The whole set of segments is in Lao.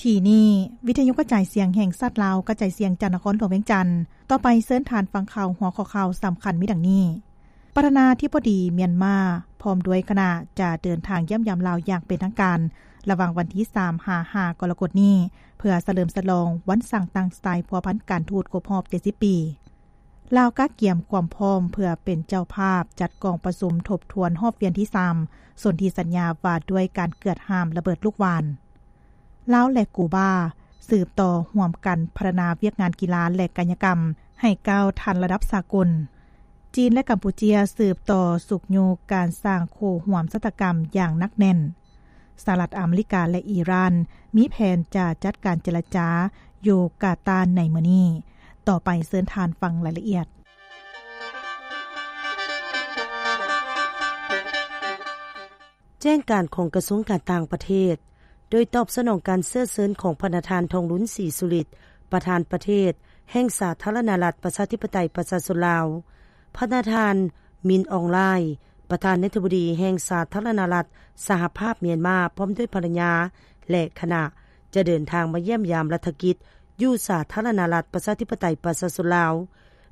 ທີ່ນີ້ ວິທະຍຸກະຈາຍສຽງແຫ່ງຊາດລາວ ກະຈາຍສຽງຈາກນະຄອນຫຼວງວຽງຈັນ. ຕໍ່ໄປເຊີນທ່ານຟັງຂ່າວ ຫົວຂໍ້ຂ່າວສຳຄັນມີດັ່ງນີ້: ປະທານາທິບໍດີມຽນມາ ພ້ອມດ້ວຍຄະນະ ຈະເດີນທາງຢ້ຽມຢາມລາວຢ່າງເປັນທາງການ ລະຫວ່າງວັນທີສາມຫາຫ້າກໍລະກົດນີ້ ເພື່ອສະເຫຼີມສະຫຼອງວັນສ້າງຕັ້ງສາຍພົວພັນການທູດຄົບຮອບເຈັດສິບປີ. ລາວກະກຽມຄວາມພ້ອມເພື່ອເປັນເຈົ້າພາບຈັດກອງປະຊຸມທົບທວນຮອບວຽນທີສາມ ສົນທິສັນຍາວ່າດ້ວຍການເກືອດຫ້າມລະເບີດລູກຫວ່ານ. ລາວ ແລະ ກູບາ ສືບຕໍ່ຮ່ວມກັນພັດທະນາວຽກງານກິລາ ແລະ ກາຍະກຳໃຫ້ກ້າວທັນລະດັບສາກົນ. ຈີນ ແລະ ກຳປູເຈຍ ສືບຕໍ່ຊຸກຍູ້ການສ້າງຄູ່ຮ່ວມຊະຕາກຳຢ່າງໜັກແໜ້ນ. ສະຫະລັດອາເມລິກາ ແລະ ອີຣານ ມີແຜນຈະຈັດການເຈລະຈາຢູ່ກາຕາໃນມື້ນີ້. ຕໍ່ໄປເຊີນທ່ານຟັງລາຍລະອຽດ. ແຈ້ງການຂອງກະຊວງການຕ່າງປະເທດ. ໂດຍຕອບສະໜອງການເຊື້ອເຊີນຂອງພະນະທ່ານ ທອງລຸນ ສີສຸລິດ ປະທານປະເທດແຫ່ງສາທາລະນະລັດ ປະຊາທິປະໄຕ ປະຊາຊົນລາວ, ພະນະທ່ານ ມິນ ອອງ ລາຍ ປະທານາທິບໍດີແຫ່ງສາທາລະນະລັດສະຫະພາບມຽນມາ ພ້ອມດ້ວຍພັນລະຍາ ແລະ ຄະນະ ຈະເດີນທາງມາຢ້ຽມຢາມລັດຖະກິດຢູ່ສາທາລະນະລັດ ປະຊາທິປະໄຕ ປະຊາຊົນລາວ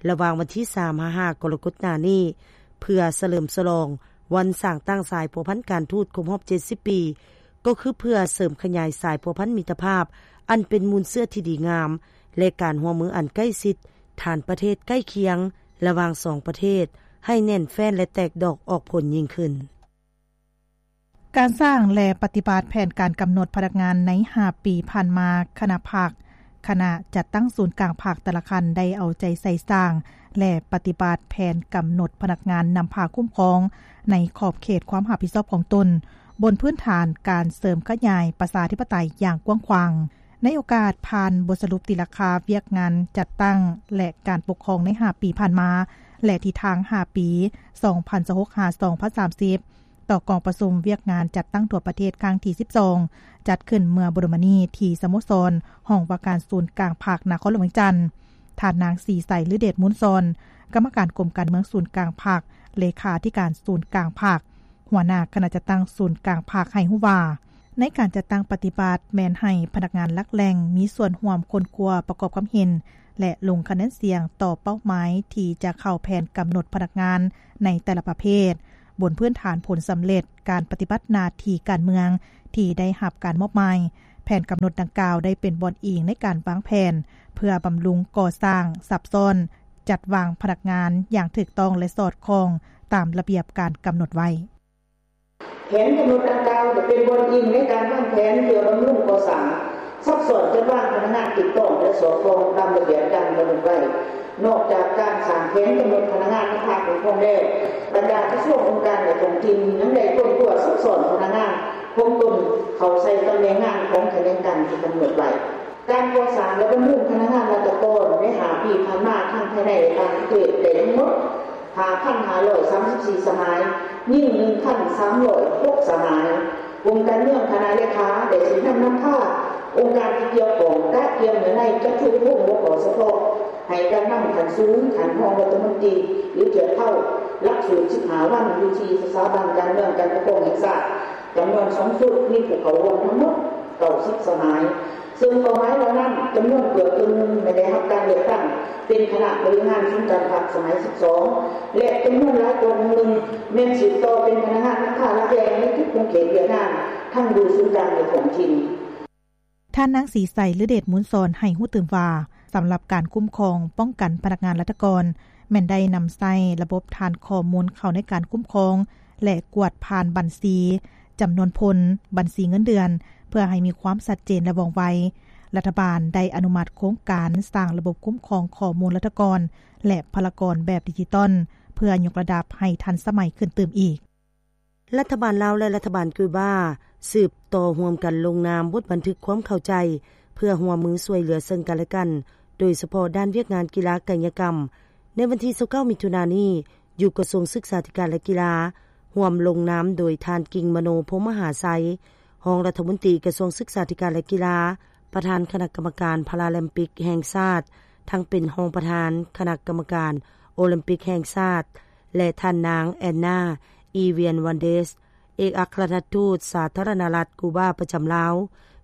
ລະຫວ່າງວັນທີສາມຫາຫ້າກໍລະກົດໜ້ານີ້ ເພື່ອສະເຫຼີມສະຫຼອງວັນສ້າງຕັ້ງສາຍພົວພັນການທູດຄົບຮອບເຈັດສິບປີ ກໍຄືເພື່ອເສີມຂະຫຍາຍສາຍພົວພັນມິດຕະພາບອັນເປັນມູນເຊື້ອທີ່ດີງາມ ແລະ ການຮ່ວມມືອັນໃກ້ຊິດທານປະເທດໃກ້ຄຽງລະຫວ່າງສອງປະເທດ ໃຫ້ແໜ້ນແຟ້ນ ແລະ ແຕກດອກອອກຜົນຍິ່ງຂຶ້ນ. ການສ້າງ ແລະ ປະຕິບັດແຜນການກຳນົດພະນັກງານໃນຫ້າປີຜ່ານມາ, ຄະນະພັກ, ຄະນະຈັດຕັ້ງສູນກາງພັກແຕ່ລະຂັ້ນໄດ້ເອົາໃຈໃສ່ສ້າງ ແລະ ປະຕິບັດແຜນກຳນົດພະນັກງານນຳພາຄຸ້ມຄອງໃນຂອບເຂດຄວາມຮັບຜິດຊອບຂອງຕົນ, ບົນພື້ນຖານການເສີມຂະຫຍາຍປະຊາທິປະໄຕຢ່າງກວ້າງຂວາງ. ໃນໂອກາດຜ່ານບົດສະຫຼຸບຕີລາຄາວຽກງານຈັດຕັ້ງ ແລະ ການປົກຄອງໃນຫ້າປີຜ່ານມາ ແລະ ທິດທາງຫ້າປີ ສອງພັນຊາວຫົກ ຫາ ສອງພັນສາມສິບ ຕໍ່ກອງປະຊຸມວຽກງານຈັດຕັ້ງທົ່ວປະເທດຄັ້ງທີສິບສອງ ຈັດຂຶ້ນເມື່ອບໍ່ດົນມານີ້ທີ່ສະໂມສອນຫ້ອງວ່າການສູນກາງພັກນະຄອນຫຼວງວຽງຈັນ, ທ່ານນາງ ສີໃສ ລືເດດມູນຊອນ ກຳມະການກົມການເມືອງສູນກາງພັກ, ເລຂາທິການສູນກາງພັກ, ຫົວໜ້າຄະນະຈັດຕັ້ງສູນກາງພັກ ໃຫ້ຮູ້ວ່າ ໃນການຈັດຕັ້ງປະຕິບັດແມ່ນໃຫ້ພະນັກງານຫຼັກແຫຼ່ງມີສ່ວນຮ່ວມຄົ້ນຄວ້າປະກອບຄວາມເຫັນ ແລະ ລົງຄະແນນສຽງຕໍ່ເປົ້າໝາຍທີ່ຈະເຂົ້າແຜນກຳນົດພະນັກງານໃນແຕ່ລະປະເພດ, ບົນພື້ນຖານຜົນສຳເລັດການປະຕິບັດໜ້າທີ່ການເມືອງທີ່ໄດ້ຮັບການມອບໝາຍ. ແຜນກຳນົດດັ່ງກ່າວໄດ້ເປັນບ່ອນອີງໃນການວາງແຜນເພື່ອບຳລຸງ, ກໍ່ສ້າງ, ຊັບຊ້ອນ, ຈັດວາງພະນັກງານຢ່າງຖືກຕ້ອງ ແລະ ສອດຄ່ອງຕາມລະບຽບການກຳນົດໄວ້. ແຜນກຳນົດດັ່ງກ່າວຈະເປັນບ່ອນອີງໃນການວາງແຜນເພື່ອບຳລຸງກໍ່ສ້າງ, ຊັບຊ້ອນ, ຈັດວາງພະນັກງານຖືກຕ້ອງ ແລະ ສອດຄ່ອງຕາມລະບຽບດັ່ງກຳນົດໄວ້. ນອກຈາກການສ້າງແຜນກຳນົດພະນັກງານນຳພາຄຸ້ມຄອງແລ້ວ, ບັນດາກະຊວງ, ອົງການ ແລະ ທ້ອງຖິ່ນຍັງໄດ້ຄົ້ນຄວ້າຊັບຊ້ອນພະນັກງານຂອງຕົນເຂົ້າໃສ່ຕຳແໜ່ງງານຂອງຂະແໜງການທີ່ກຳນົດໄວ້. ການກໍ່ສ້າງ ແລະ ບຳລຸງພະນັກງານລັດຖະກອນໃນຫ້າປີຜ່ານມາ ທັງພາຍໃນ ແລະ ຕ່າງປະເທດ ໄດ້ທັງໝົດ ຫ້າພັນຫ້າຮ້ອຍສາມສິບສີ່ສະໝາຍ, ຍິງໜຶ່ງພັນສາມຮ້ອຍຫົກສະໝາຍ. ກົມການເມືອງ, ຄະນະເລຂາ ໄດ້ຊີ້ນຳນຳພາອົງການທີ່ກ່ຽວຂ້ອງ ກະກຽມເນື້ອໃນ ຈັດຝຶກອົບຮົມຫົວຂໍ້ສະເພາະໃຫ້ການນຳຂັ້ນສູງ, ຂັ້ນຮອງລັດຖະມົນຕີ ຫຼື ທຽບເທົ່າຫຼັກສູດສິບຫ້າວັນ ຢູ່ທີ່ສະຖາບັນການເມືອງການປົກຄອງແຫ່ງຊາດ ຈຳນວນສອງຊຸດ, ມີຜູ້ເຂົ້າຮ່ວມທັງໝົດເກົ້າສິບສະໝາຍ. ເຊິ່ງເປົ້າໝາຍເຫຼົ່ານັ້ນ ຈຳນວນເກືອບເຄິ່ງໜຶ່ງແມ່ນໄດ້ຮັບການເລືອກຕັ້ງເປັນຄະນະບໍລິຫານສູນກາງພັກສະໄໝສິບສອງ ແລະ ຈຳນວນຫຼາຍກວ່າໜຶ່ງໜຶ່ງແມ່ນສືບຕໍ່ເປັນພະນັກງານນຳພາຫຼັກແຫຼ່ງໃນທຸກຂົງເຂດວຽກງານ ທັງຢູ່ສູນກາງ ແລະ ທ້ອງຖິ່ນ. ທ່ານນາງ ສີໃສ ລືເດດມູນຊອນ ໃຫ້ຮູ້ຕື່ມວ່າ ສຳລັບການຄຸ້ມຄອງປ້ອງກັນພະນັກງານລັດຖະກອນ ແມ່ນໄດ້ນຳໃຊ້ລະບົບຖານຂໍ້ມູນເຂົ້າໃນການຄຸ້ມຄອງ ແລະ ກວດຜ່ານບັນຊີ, ຈຳນວນພົນ, ບັນຊີເງິນເດືອນ ເພື່ອໃຫ້ມີຄວາມຊັດເຈນ ແລະ ວ່ອງໄວ. ລັດຖະບານໄດ້ອະນຸມັດໂຄງການສ້າງລະບົບຄຸ້ມຄອງຂໍ້ມູນລັດຖະກອນ ແລະ ພະລາກອນແບບດິຈິຕອນ ເພື່ອຍົກລະດັບໃຫ້ທັນສະໄໝຂຶ້ນຕື່ມອີກ. ລັດຖະບານລາວ ແລະ ລັດຖະບານຄິວບາ ສືບຕໍ່ຮ່ວມກັນລົງນາມບົດບັນທຶກຄວາມເຂົ້າໃຈ ເພື່ອຮ່ວມມືຊ່ວຍເຫຼືອເຊິ່ງກັນ ແລະ ກັນ ໂດຍສະເພາະດ້ານວຽກງານກິລາກາຍະກຳ. ໃນວັນທີຊາວເກົ້າ ມິຖຸນານີ້ ຢູ່ກະຊວງສຶກສາທິການ ແລະ ກິລາ ຮ່ວມລົງນາມໂດຍທ່ານ ກິ່ງມະໂນ ພົມມະຫາໄຊ ຮອງລັດຖະມົນຕີກະຊວງສຶກສາທິການ ແລະ ກິລາ, ປະທານຄະນະກຳມະການພາຣາລິມປິກແຫ່ງຊາດ, ທັງເປັນຮອງປະທານຄະນະກຳມະການໂອລິມປິກແຫ່ງຊາດ ແລະ ທ່ານນາງ ແອນນາ ອີວຽນວັນເດສ ເອກອັກຄະລັດທູດສາທາລະນະລັດກູບາປະຈຳລາວ,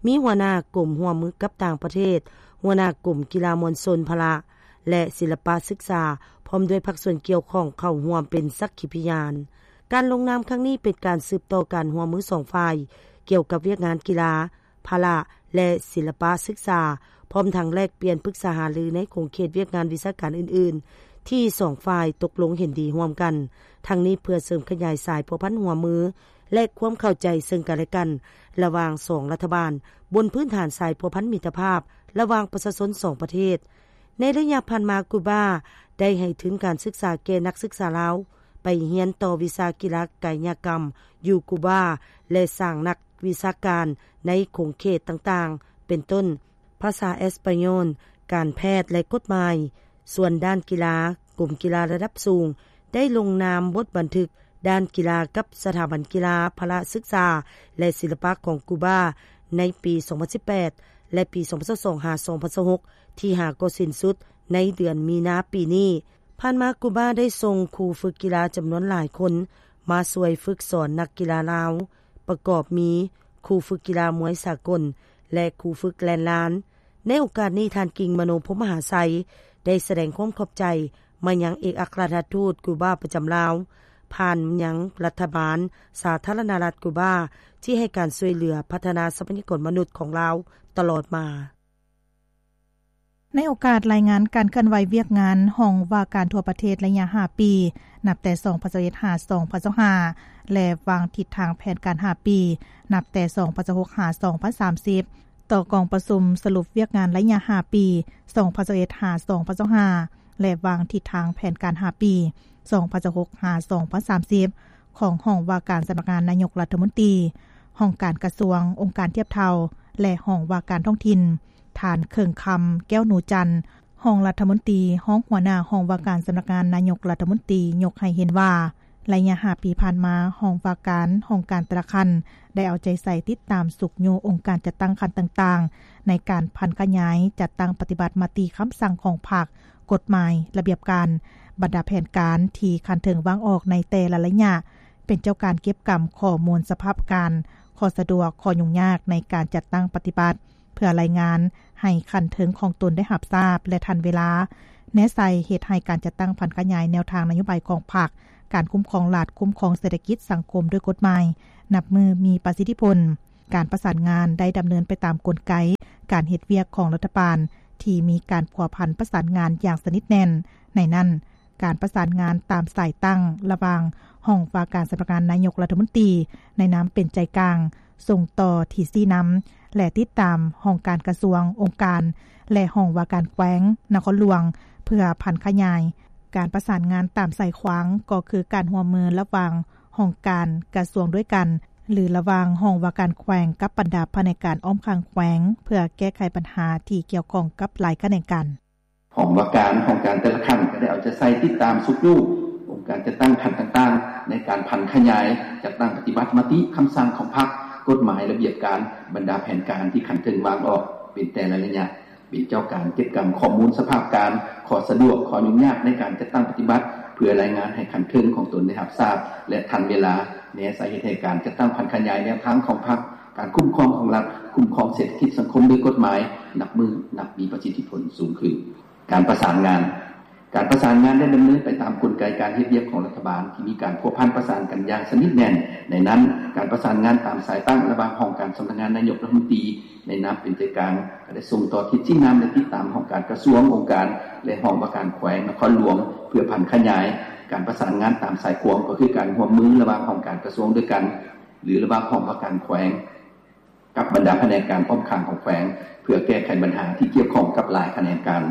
ມີຫົວໜ້າກົມຮ່ວມມືກັບຕ່າງປະເທດ, ຫົວໜ້າກົມກິລາມວນຊົນພະລະ ແລະ ສິລະປະສຶກສາ, ພ້ອມດ້ວຍພາກສ່ວນກ່ຽວຂ້ອງເຂົ້າຮ່ວມເປັນສັກຂີພະຍານ. ການລົງນາມຄັ້ງນີ້ເປັນການສືບຕໍ່ການຮ່ວມມືສອງຝ່າຍ ກ່ຽວກັບວຽກງານກິລາ, ພະລະ ແລະ ສິລະປະສຶກສາ, ພ້ອມທັງແລກປ່ຽນປຶກສາຫາລືໃນຂົງເຂດວຽກງານວິຊາການອື່ນໆ ທີ່ສອງຝ່າຍຕົກລົງເຫັນດີຮ່ວມກັນ, ທັງນີ້ເພື່ອເສີມຂະຫຍາຍສາຍພົວພັນຮ່ວມມື ແລະ ຄວາມເຂົ້າໃຈເຊິ່ງກັນແລະກັນ ລະຫວ່າງສອງລັດຖະບານ, ບົນພື້ນຖານສາຍພົວພັນມິດຕະພາບລະຫວ່າງປະຊາຊົນສອງປະເທດ. ໃນໄລຍະຜ່ານມາ, ກູບາໄດ້ໃຫ້ທຶນການສຶກສາແກ່ນັກສຶກສາລາວ ໄປຮຽນຕໍ່ວິຊາກິລາກາຍະກຳຢູ່ກູບາ ແລະ ສ້າງນັກວິຊາການໃນຂົງເຂດຕ່າງໆ ເປັນຕົ້ນ ພາສາເອສປາໂຍນ, ການແພດ ແລະ ກົດໝາຍ. ສ່ວນດ້ານກິລາ, ກົມກິລາລະດັບສູງໄດ້ລົງນາມບົດບັນທຶກດ້ານກິລາກັບສະຖາບັນກິລາພະລະສຶກສາ ແລະ ສິລະປະຂອງກູບາ ໃນປີສອງພັນສິບແປດ ແລະ ປີສອງພັນຊາວສອງ ຫາ ສອງພັນຊາວຫົກ ທີ່ຫາກໍສິ້ນສຸດໃນເດືອນມີນາປີນີ້. ຜ່ານມາ, ກູບາໄດ້ສົ່ງຄູຝຶກກິລາຈຳນວນຫຼາຍຄົນມາຊ່ວຍຝຶກສອນນັກກິລາລາວ, ປະກອບມີຄູຝຶກກິລາມວຍສາກົນ ແລະ ຄູຝຶກແລ່ນລານ. ໃນໂອກາດນີ້, ທ່ານ ກິ່ງມະໂນ ພົມມະຫາໄຊ ໄດ້ສະແດງຄວາມຂອບໃຈມາຍັງເອກອັກຄະລັດທູດກູບາປະຈຳລາວ, ຜ່ານມາຍັງລັດຖະບານສາທາລະນະລັດກູບາ ທີ່ໃຫ້ການຊ່ວຍເຫຼືອພັດທະນາຊັບພະຍາກອນມະນຸດຂອງລາວຕະຫຼອດມາ. ໃນໂອກາດລາຍງານການເຄື່ອນໄຫວວຽກງານ ຫ້ອງວ່າການທົ່ວປະເທດໄລຍະຫ້າປີ ນັບແຕ່ສອງພັນຊາວເອັດ ຫາ ສອງພັນຊາວຫ້າ ແລະ ວາງທິດທາງແຜນການຫ້າປີ ນັບແຕ່ສອງພັນຊາວຫົກ ຫາ ສອງພັນສາມສິບ ຕໍ່ກອງປະຊຸມສະຫຼຸບວຽກງານໄລຍະຫ້າປີ ສອງພັນຊາວເອັດ ຫາ ສອງພັນຊາວຫ້າ ແລະ ວາງທິດທາງແຜນການຫ້າປີ ສອງພັນຊາວຫົກ ຫາ ສອງພັນສາມສິບ ຂອງຫ້ອງວ່າການສຳນັກງານນາຍົກລັດຖະມົນຕີ, ຫ້ອງການກະຊວງ, ອົງການທຽບເທົ່າ ແລະ ຫ້ອງວ່າການທ້ອງຖິ່ນ. ທ່ານ ເຄິ່ງຄຳ ແກ້ວໜູຈັນ ຮອງລັດຖະມົນຕີ, ຮອງຫົວໜ້າຫ້ອງວ່າການສຳນັກງານນາຍົກລັດຖະມົນຕີ ຍົກໃຫ້ເຫັນວ່າ ໄລຍະຫ້າປີຜ່ານມາ, ຫ້ອງວ່າການ, ຫ້ອງການແຕ່ລະຂັ້ນ ໄດ້ເອົາໃຈໃສ່ຕິດຕາມຊຸກຍູ້ອົງການຈັດຕັ້ງຂັ້ນຕ່າງໆ ໃນການຜັນຂະຫຍາຍ, ຈັດຕັ້ງປະຕິບັດມະຕິຄຳສັ່ງຂອງພັກ, ກົດໝາຍ, ລະບຽບການ, ບັນດາແຜນການທີ່ຂັ້ນເທິງວາງອອກໃນແຕ່ລະໄລຍະ, ເປັນເຈົ້າການເກັບກຳຂໍ້ມູນສະພາບການ, ຂໍ້ສະດວກ, ຂໍ້ຫຍຸ້ງຍາກໃນການຈັດຕັ້ງປະຕິບັດ ເພື່ອລາຍງານໃຫ້ຂັ້ນເທິງຂອງຕົນໄດ້ຮັບຊາບ ແລະ ທັນເວລາ, ແນໃສ່ເຮັດໃຫ້ການຈັດຕັ້ງຜັນຂະຫຍາຍແນວທາງນະໂຍບາຍຂອງພັກ, ການຄຸ້ມຄອງລັດ, ຄຸ້ມຄອງເສດຖະກິດສັງຄົມດ້ວຍກົດໝາຍ ນັບມື້ມີປະສິດທິຜົນ. ການປະສານງານໄດ້ດຳເນີນໄປຕາມກົນໄກການເຮັດວຽກຂອງລັດຖະບານທີ່ມີການພົວພັນປະສານງານຢ່າງສະໜິດແໜ້ນ, ໃນນັ້ນ, ການປະສານງານຕາມສາຍຕັ້ງລະຫວ່າງຫ້ອງວ່າການສຳນັກງານນາຍົກລັດຖະມົນຕີ ໃນນາມເປັນໃຈກາງ, ສົ່ງຕໍ່ທີ່ຊີ້ນຳ ແລະ ຕິດຕາມຫ້ອງການກະຊວງ, ອົງການ ແລະ ຫ້ອງວ່າການແຂວງ, ນະຄອນຫຼວງ ເພື່ອຜັນຂະຫຍາຍ. ການປະສານງານຕາມສາຍຂວາງ ກໍຄືການຮ່ວມມືລະຫວ່າງຫ້ອງການກະຊວງດ້ວຍກັນ ຫຼື ລະຫວ່າງຫ້ອງວ່າການແຂວງກັບບັນດາພະແນກການອ້ອມຂ້າງແຂວງ ເພື່ອແກ້ໄຂບັນຫາທີ່ກ່ຽວຂ້ອງກັບຫຼາຍຂະແໜງການ. ຫ້ອງວ່າການ, ຫ້ອງການແຕ່ລະຂັ້ນກໍໄດ້ເອົາໃຈໃສ່ຕິດຕາມຊຸກຍູ້ອົງການຈັດຕັ້ງຂັ້ນຕ່າງໆ ໃນການຜັນຂະຫຍາຍ, ຈັດຕັ້ງປະຕິບັດມະຕິຄຳສັ່ງຂອງພັກ, ກົດໝາຍ, ລະບຽບການ, ບັນດາແຜນການທີ່ຂັ້ນເທິງວາງອອກເປັນແຕ່ລະໄລຍະ, ເປັນເຈົ້າການເກັບກຳຂໍ້ມູນສະພາບການ, ຂໍ້ສະດວກ, ຂໍ້ຫຍຸ້ງຍາກໃນການຈັດຕັ້ງປະຕິບັດ ເພື່ອລາຍງານໃຫ້ຂັ້ນເທິງຂອງຕົນໄດ້ຮັບຊາບ ແລະ ທັນເວລາ, ແນໃສ່ເຮັດໃຫ້ການຈັດຕັ້ງຜັນຂະຫຍາຍແນວທາງຂອງພັກ, ການຄຸ້ມຄອງຂອງລັດ, ຄຸ້ມຄອງເສດຖະກິດສັງຄົມໂດຍກົດໝາຍ ນັບມື້ນັບມີປະສິດທິຜົນສູງຂຶ້ນ. ການປະສານງານ. ການປະສານງານໄດ້ດຳເນີນໄປຕາມກົນໄກການເຮັດວຽກຂອງລັດຖະບານ ທີ່ມີການພົວພັນປະສານກັນຢ່າງສະໜິດແໜ້ນ. ໃນນັ້ນ, ການປະສານງານຕາມສາຍຕັ້ງລະຫວ່າງຫ້ອງການສຳນັກງານນາຍົກລັດຖະມົນຕີ ໃນນາມເປັນໃຈກາງ ກໍໄດ້ສົ່ງຕໍ່ທິດຊີ້ນຳ ແລະ ຕິດຕາມຫ້ອງການກະຊວງ, ອົງການ ແລະ ຫ້ອງວ່າການແຂວງ, ນະຄອນຫຼວງ ເພື່ອຜັນຂະຫຍາຍ. ການປະສານງານຕາມສາຍຂວາງ ກໍຄືການຮ່ວມມືລະຫວ່າງຫ້ອງການກະຊວງດ້ວຍກັນ ຫຼື ລະຫວ່າງຫ້ອງວ່າການແຂວງ ກັບບັນດາພະແນກການອ້ອມຂ້າງຂອງແຂວງ ເພື່ອແກ້ໄຂບັນຫາທີ່ກ່ຽວຂ້ອງກັບຫຼາຍຂະແໜງການ,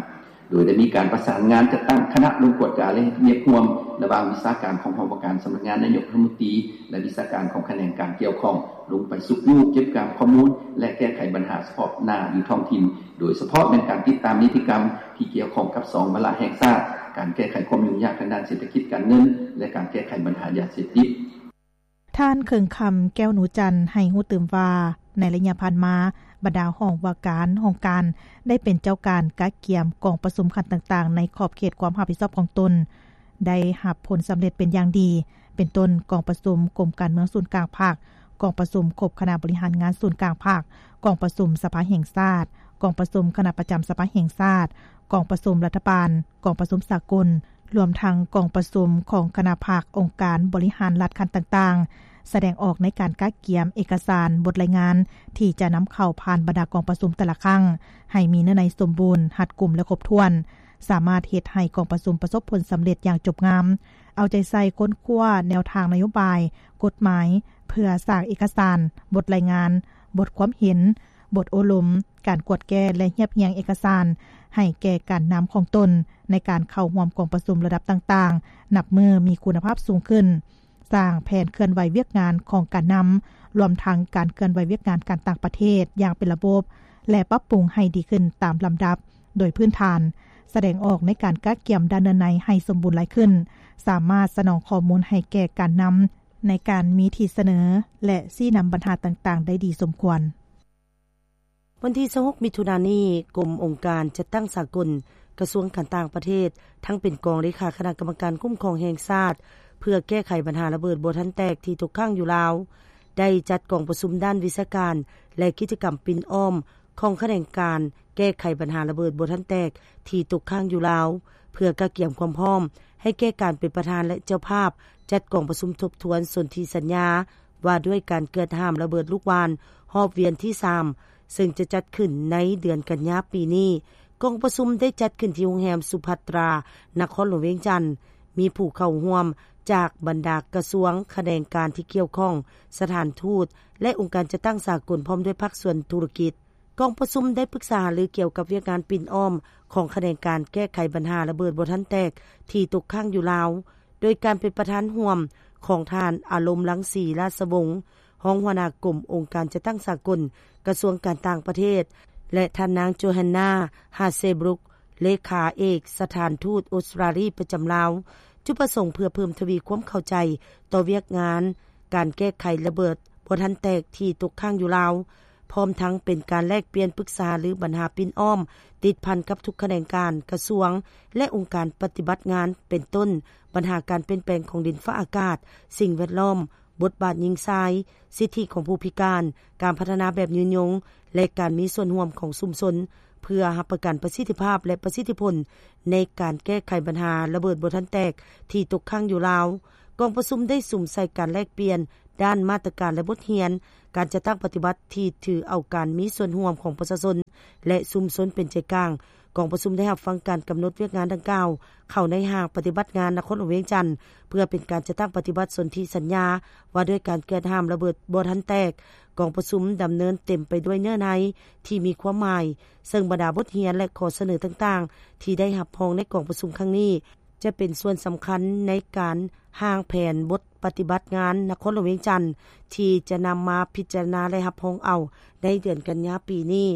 ໂດຍໄດ້ມີການປະສານງານຈັດຕັ້ງຄະນະລົງກວດກາ ແລະ ເຮັດວຽກຮ່ວມລະຫວ່າງວິຊາການຂອງຫ້ອງວ່າການສຳນັກງານນາຍົກລັດຖະມົນຕີ ແລະ ວິຊາການຂອງຂະແໜງການກ່ຽວຂ້ອງ ລົງໄປຊຸກຍູ້ເກັບກຳຂໍ້ມູນ ແລະ ແກ້ໄຂບັນຫາສະເພາະໜ້າຢູ່ທ້ອງຖິ່ນ, ໂດຍສະເພາະແມ່ນການຕິດຕາມນິຕິກຳທີ່ກ່ຽວຂ້ອງກັບສອງວາລະແຫ່ງຊາດ, ການແກ້ໄຂຄວາມຫຍຸ້ງຍາກທາງດ້ານເສດຖະກິດການເງິນ ແລະ ການແກ້ໄຂບັນຫາຢາເສບຕິດ. ທ່ານ ເຄິ່ງຄຳ ແກ້ວໜູຈັນ ໃຫ້ຮູ້ຕື່ມວ່າ ໃນໄລຍະຜ່ານມາ, ບັນດາຫ້ອງວ່າການ, ຫ້ອງການ ໄດ້ເປັນເຈົ້າການກະກຽມກອງປະຊຸມຂັ້ນຕ່າງໆ ໃນຂອບເຂດຄວາມຮັບຜິດຊອບຂອງຕົນ, ໄດ້ຮັບຜົນສຳເລັດເປັນຢ່າງດີ, ເປັນຕົ້ນ ກອງປະຊຸມກົມການເມືອງສູນກາງພັກ, ກອງປະຊຸມຄົບຄະນະບໍລິຫານງານສູນກາງພັກ, ກອງປະຊຸມສະພາແຫ່ງຊາດ, ກອງປະຊຸມຄະນະປະຈຳສະພາແຫ່ງຊາດ, ກອງປະຊຸມລັດຖະບານ, ກອງປະຊຸມສາກົນ, ລວມທັງກອງປະຊຸມຂອງຄະນະພັກ, ອົງການບໍລິຫານລັດຂັ້ນຕ່າງໆ, ສະແດງອອກໃນການກະກຽມເອກະສານ, ບົດລາຍງານທີ່ຈະນຳເຂົ້າຜ່ານບັນດາກອງປະຊຸມແຕ່ລະຄັ້ງ ໃຫ້ມີເນື້ອໃນສົມບູນ, ຮັດກຸມ ແລະ ຄົບຖ້ວນ, ສາມາດເຮັດໃຫ້ກອງປະຊຸມປະສົບຜົນສຳເລັດຢ່າງຈົບງາມ, ເອົາໃຈໃສ່ຄົ້ນຄວ້າແນວທາງນະໂຍບາຍ, ກົດໝາຍ ເພື່ອສ້າງເອກະສານ, ບົດລາຍງານ, ບົດຄວາມເຫັນ, ບົດໂອ້ລົມ, ການກວດແກ້ ແລະ ຮຽບຮຽງເອກະສານ ໃຫ້ແກ່ການນຳຂອງຕົນ ໃນການເຂົ້າຮ່ວມກອງປະຊຸມລະດັບຕ່າງໆ ນັບມື້ມີຄຸນນະພາບສູງຂຶ້ນ, ສ້າງແຜນເຄື່ອນໄຫວວຽກງານຂອງການນຳ, ລວມທັງການເຄື່ອນໄຫວວຽກງານການຕ່າງປະເທດຢ່າງເປັນລະບົບ ແລະ ປັບປຸງໃຫ້ດີຂຶ້ນຕາມລຳດັບ ໂດຍພື້ນຖານ, ສະແດງອອກໃນການກະກຽມດ້ານເນື້ອໃນໃຫ້ສົມບູນຫຼາຍຂຶ້ນ, ສາມາດສະໜອງຂໍ້ມູນໃຫ້ແກ່ການນຳ ໃນການມີທີ່ສະເໜີ ແລະ ຊີ້ນຳບັນຫາຕ່າງໆໄດ້ດີສົມຄວນ. ວັນທີຊາວຫົກ ມິຖຸນານີ້, ກົມອົງການຈັດຕັ້ງສາກົນ, ກະຊວງການຕ່າງປະເທດ, ທັງເປັນກອງເລຂາຄະນະກຳມະການຄຸ້ມຄອງແຫ່ງຊາດ ເພື່ອແກ້ໄຂບັນຫາລະເບີດບໍ່ທັນແຕກທີ່ຕົກຄ້າງຢູ່ລາວ, ໄດ້ຈັດກອງປະຊຸມດ້ານວິຊາການ ແລະ ກິດຈະກຳປິ່ນອ້ອມ ຂອງຂະແໜງການແກ້ໄຂບັນຫາລະເບີດບໍ່ທັນແຕກທີ່ຕົກຄ້າງຢູ່ລາວ, ເພື່ອກະກຽມຄວາມພ້ອມໃຫ້ແກ່ການເປັນປະທານ ແລະ ເຈົ້າພາບຈັດກອງປະຊຸມທົບທວນສົນທິສັນຍາວ່າດ້ວຍການເກືອດຫ້າມລະເບີດລູກຫວ່ານຮອບວຽນທີສາມ ເຊິ່ງຈະຈັດຂຶ້ນໃນເດືອນກັນຍາປີນີ້. ກອງປະຊຸມໄດ້ຈັດຂຶ້ນທີ່ໂຮງແຮມສຸພັດຕາ ນະຄອນຫຼວງວຽງຈັນ, ມີຜູ້ເຂົ້າຮ່ວມຈາກບັນດາກະຊວງ, ຂະແໜງການທີ່ກ່ຽວຂ້ອງ, ສະຖານທູດ ແລະ ອົງການຈັດຕັ້ງສາກົນ ພ້ອມດ້ວຍພາກສ່ວນທຸລະກິດ. ກອງປະຊຸມໄດ້ປຶກສາຫາລືກ່ຽວກັບວຽກງານປິ່ນອ້ອມຂອງຂະແໜງການແກ້ໄຂບັນຫາລະເບີດບໍ່ທັນແຕກທີ່ຕົກຄ້າງຢູ່ລາວ, ໂດຍການເປັນປະທານຮ່ວມຂອງທ່ານ ອາລົມ ລັງສີ ລາຊະວົງ, ຮອງຫົວໜ້າກົມອົງການຈັດຕັ້ງສາກົນ ກະຊວງການຕ່າງປະເທດ ແລະ ທ່ານນາງ ໂຈແຮນນາ ຮາເຊບຣຸກ ເລຂາເອກສະຖານທູດອົດສະຕຣາລີປະຈຳລາວ. ຈຸດປະສົງເພື່ອເພີ່ມທະວີຄວາມເຂົ້າໃຈຕໍ່ວຽກງານການແກ້ໄຂລະເບີດບໍ່ທັນແຕກທີ່ຕົກຄ້າງຢູ່ລາວ, ພ້ອມທັງເປັນການແລກປ່ຽນປຶກສາຫາລືບັນຫາປິ່ນອ້ອມ ຕິດພັນກັບທຸກຂະແໜງການ, ກະຊວງ ແລະ ອົງການປະຕິບັດງານ ເປັນຕົ້ນ ບັນຫາການປ່ຽນແປງຂອງດິນຟ້າອາກາດ, ສິ່ງແວດລ້ອມ, ບົດບາດຍິງຊາຍ, ສິດທິຂອງຜູ້ພິການ, ການພັດທະນາແບບຍືນຍົງ ແລະ ການມີສ່ວນຮ່ວມຂອງຊຸມຊົນ ເພື່ອຮັບປະກັນປະສິດທິພາບ ແລະ ປະສິດທິຜົນໃນການແກ້ໄຂບັນຫາລະເບີດບໍ່ທັນແຕກທີ່ຕົກຄ້າງຢູ່ລາວ. ກອງປະຊຸມໄດ້ສຸມໃສ່ການແລກປ່ຽນດ້ານມາດຕະການ ແລະ ບົດຮຽນການຈັດຕັ້ງປະຕິບັດທີ່ຖືເອົາການມີສ່ວນຮ່ວມຂອງປະຊາຊົນ ແລະ ຊຸມຊົນເປັນໃຈກາງ. ກອງປະຊຸມໄດ້ຮັບຟັງການກຳນົດວຽກງານດັ່ງກ່າວເຂົ້າໃນຫ້າງປະຕິບັດງານນະຄອນຫຼວງວຽງຈັນ ເພື່ອເປັນການຈັດຕັ້ງປະຕິບັດສົນທິສັນຍາວ່າດ້ວຍການເກືອດຫ້າມລະເບີດບໍ່ທັນແຕກ. ກອງປະຊຸມດຳເນີນເຕັມໄປດ້ວຍເນື້ອໃນທີ່ມີຄວາມໝາຍ, ເຊິ່ງບັນດາບົດຮຽນ ແລະ ຂໍ້ສະເໜີຕ່າງໆທີ່ໄດ້ຮັບຮອງໃນກອງປະຊຸມຄັ້ງນີ້ ຈະເປັນສ່ວນສຳຄັນໃນການຮ່າງແຜນບົດປະຕິບັດງານນະຄອນຫຼວງວຽງຈັນ ທີ່ຈະນຳມາພິຈາລະນາ ແລະ ຮັບຮອງເອົາໃນເດືອນກັນຍາປີນີ້.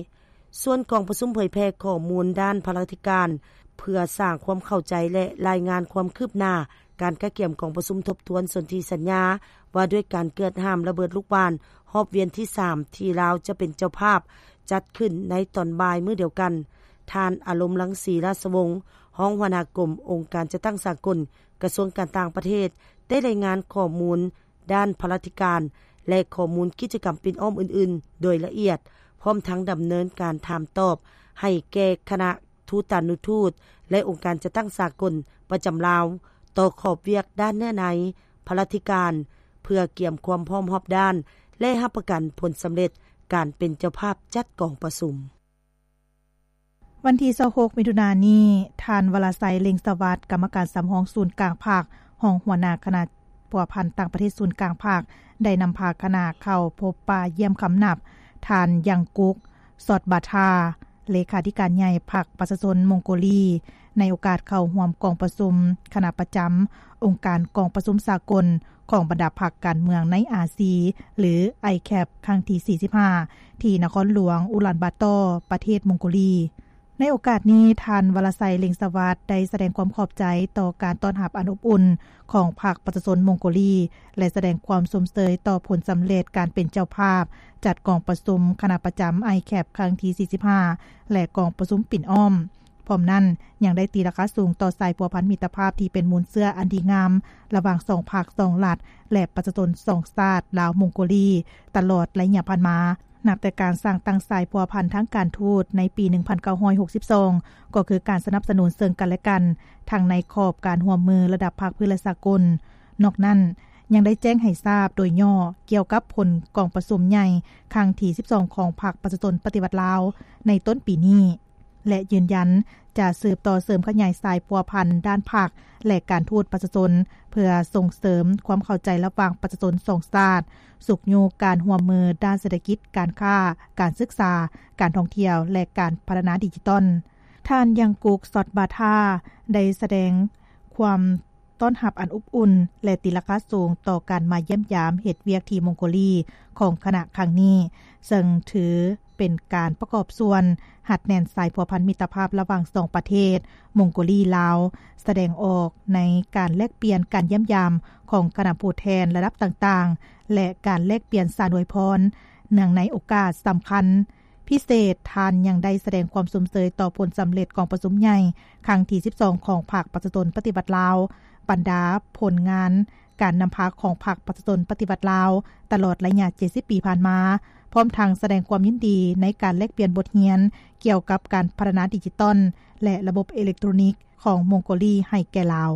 ສ່ວນກອງປະຊຸມເຜີຍແຜ່ຂໍ້ມູນດ້ານພະລາທິການ ເພື່ອສ້າງຄວາມເຂົ້າໃຈ ແລະ ລາຍງານຄວາມຄືບໜ້າການກະກຽມກອງປະຊຸມທົບທວນສົນທິສັນຍາວ່າດ້ວຍການເກືອດຫ້າມລະເບີດລູກຫວ່ານຮອບວຽນທີສາມ ທີ່ລາວຈະເປັນເຈົ້າພາບຈັດຂຶ້ນໃນຕອນບ່າຍມື້ດຽວກັນ. ທ່ານ ອາລົມ ລັງສີ ລາຊະວົງ, ຮອງຫົວໜ້າກົມອົງການຈັດຕັ້ງສາກົນ ກະຊວງການຕ່າງປະເທດ ໄດ້ລາຍງານຂໍ້ມູນ ດ້ານພະລາທິການ ແລະ ຂໍ້ມູນກິດຈະກຳປິ່ນອ້ອມອື່ນໆໂດຍລະອຽດ, ພ້ອມທັງດຳເນີນການຖາມຕອບໃຫ້ແກ່ຄະນະທູຕານຸທູດ ແລະ ອົງການຈັດຕັ້ງສາກົນປະຈຳລາວ ຕໍ່ຂອບວຽກດ້ານເນື້ອໃນ, ພະລາທິການ ເພື່ອກຽມຄວາມພ້ອມຮອບດ້ານ ແລະ ຮັບປະກັນຜົນສຳເລັດການເປັນເຈົ້າພາບຈັດກອງປະຊຸມ. ວັນທີຊາວຫົກ ມິຖຸນານີ້, ທ່ານ ວະລະໄຊ ເລັ່ງສະຫວັດ, ກຳມະການສຳຮອງສູນກາງພັກ, ຮອງຫົວໜ້າຄະນະພົວພັນຕ່າງປະເທດສູນກາງພັກ, ໄດ້ນຳພາຄະນະເຂົ້າພົບປະຢ້ຽມຄຳນັບ ທ່ານ ຍັງກຸກ ຊອດບາທາ, ເລຂາທິການໃຫຍ່ພັກປະຊາຊົນມົງໂກລີ, ໃນໂອກາດເຂົ້າຮ່ວມກອງປະຊຸມຄະນະປະຈຳອົງການກອງປະຊຸມສາກົນ ຂອງບັນດາພັກການເມືອງໃນອາຊີ ຫຼື ໄອແຄັບ ຄັ້ງທີສີ່ສິບຫ້າ ທີ່ນະຄອນຫຼວງອູລານບາຕໍ ປະເທດມົງໂກລີ. ໃນໂອກາດນີ້, ທ່ານ ວະລະໄຊ ເລັ່ງສະຫວັດ ໄດ້ສະແດງຄວາມຂອບໃຈຕໍ່ການຕ້ອນຮັບອັນອົບອຸ່ນຂອງພັກປະຊາຊົນມົງໂກລີ ແລະ ສະແດງຄວາມຊົມເຊີຍຕໍ່ຜົນສຳເລັດການເປັນເຈົ້າພາບຈັດກອງປະຊຸມຄະນະປະຈຳ ໄອແຄັບ ຄັ້ງທີສີ່ສິບຫ້າ ແລະ ກອງປະຊຸມປິ່ນອ້ອມ. ພ້ ພ້ອມນັ້ນ ຍັງໄດ້ຕີລາຄາສູງຕໍ່ສາຍພົວພັນມິດຕະພາບທີ່ເປັນມູນເຊື້ອອັນດີງາມ ລະຫວ່າງສອງພັກສອງລັດ ແລະ ປະຊາຊົນສອງຊາດ ລາວ-ມົງໂກລີ ຕະຫຼອດໄລຍະຜ່ານມາ. ນັບແຕ່ການສ້າງຕັ້ງສາຍພົວພັນທາງການທູດໃນປີໜຶ່ງພັນເກົ້າຮ້ອຍຫົກສິບສອງ ກໍຄືການສະໜັບສະໜູນເຊິ່ງກັນແລະກັນ ທັງໃນຂອບການຮ່ວມມືລະດັບພາກພື້ນ ແລະ ສາກົນ. ນອກນັ້ນ ຍັງໄດ້ແຈ້ງໃຫ້ຊາບໂດຍຫຍໍ້ກ່ຽວກັບຜົນກອງປະຊຸມໃຫຍ່ຄັ້ງທີສິບສອງ ຂອງພັກປະຊາຊົນປະຕິວັດລາວ ໃນຕົ້ນປີນີ້ ແລະ ຢືນຢັນຈະສືບຕໍ່ເສີມຂະຫຍາຍສາຍພົວພັນດ້ານພັກ ແລະ ການທູດປະຊາຊົນ ເພື່ອສົ່ງເສີມຄວາມເຂົ້າໃຈລະຫວ່າງປະຊາຊົນສອງຊາດ, ຊຸກຍູ້ການຮ່ວມມືດ້ານເສດຖະກິດ, ການຄ້າ, ການສຶກສາ, ການທ່ອງທ່ຽວ ແລະ ການພັດທະນາດິຈິຕອນ. ທ່ານ ຍັງກຸກ ຊອດບາທາ ໄດ້ສະແດງຄວາມຕ້ອນຮັບອັນອົບອຸ່ນ ແລະ ຕີລາຄາສູງຕໍ່ການມາຢ້ຽມຢາມເຮັດວຽກທີ່ມົງໂກລີຂອງຄະນະຄັ້ງນີ້, ເຊິ່ງຖືເປັນການປະກອບສ່ວນຮັດແໜ້ນສາຍພົວພັນມິດຕະພາບລະຫວ່າງສອງປະເທດ ມົງໂກລີ-ລາວ ສະແດງອອກໃນການແລກປ່ຽນການຢ້ຽມຢາມຂອງຄະນະຜູ້ແທນລະດັບຕ່າງໆ ແລະ ການແລກປ່ຽນສານອວຍພອນ. ເນື່ອງໃນໂອກາດສຳຄັນພິເສດ, ທ່ານຍັງໄດ້ສະແດງຄວາມຊົມເຊີຍຕໍ່ຜົນສຳເລັດກອງປະຊຸມໃຫຍ່ຄັ້ງທີສິບສອງ ຂອງພັກປະຊາຊົນປະຕິວັດລາວ, ບັນດາຜົນງານການນຳພາຂອງພັກປະຊາຊົນປະຕິວັດລາວ ຕະຫຼອດໄລຍະເຈັດສິບປີຜ່ານມາ, ພ້ອມທັງສະແດງຄວາມຍິນດີໃນການແລກປ່ຽນບົດຮຽນກ່ຽວກັບການພັດທະນາດິຈິຕອນ ແລະ ລະບົບເອເລັກໂຕຣນິກຂອງມົງໂກລີໃຫ້ແກ່ລາວ.